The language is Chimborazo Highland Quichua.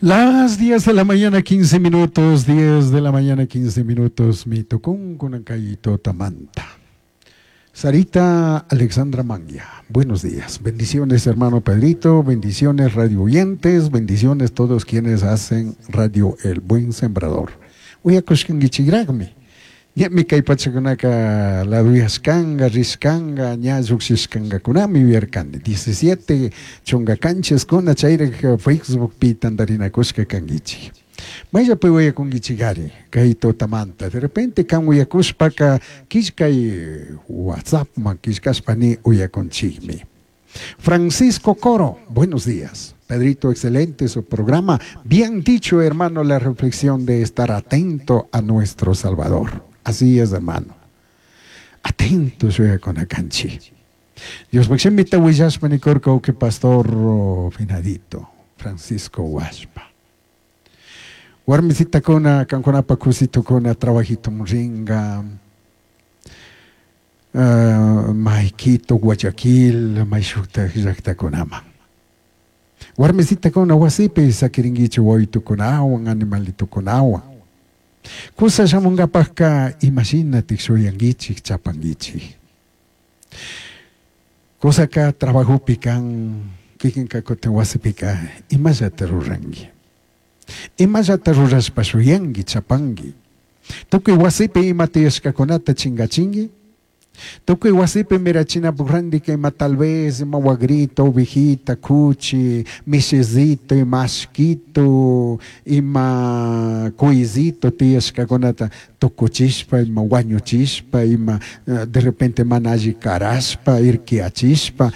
Las 10 de la mañana 15 minutos, 10 de la mañana 15 minutos, mi tucun kay tamanta. Sarita Alexandra Manga, buenos días. Bendiciones, hermano Pedrito, bendiciones, radio oyentes, bendiciones todos quienes hacen Radio El Buen Sembrador. Uyakushkankichikraqmi. Ñami kay pachakunaka laduyashkanga, rishkanga, ña llukshishkangakunami yuyarkani. 17 chunka kanchiskuna chayraq Facebookpi tantarinakushka kankichik. Mayllapi uyakunkichikari kay tutamanta. De repente kan uyakushpaka killkay WhatsAppman killkashpa ni uyakunchikmi. Francisco Coro, buenos días. Pedrito, excelente su programa. Bien dicho, hermano, la reflexión de estar atento a nuestro Salvador. Así es, hermano. Atento kanchik. Dios shimita willashpa nikurka que pastor finadito, Francisco Washpa. Warmisitakuna, kankunapa kusitukuna, trabajito ringa, may Quito, Guayaquil, may shuktak llaktakunaman. Warmisitakuna wasipi sakirinkichik wawitukunawan, animalitukunawan. Kusa shamunkapakka imashinatik shuyankichik, chapankichik. Kusaka trabajopi kan, kikinka kutin wasipika imallata ruranki. Imallata rurashpa shuyanki, chapanki. Tukuy wasipi ima tiyashkakunata chingachinki. Tukuy wasipi mirachinapuk randika ima tal vez ima wagrito, ovejita, kuchi, mishizito, ima ashkito, ima cuyzito tiyashkakunata tukuchishpa, ima wañuchishpa, ima de repente mana alli karashpa, irkiyachishpa.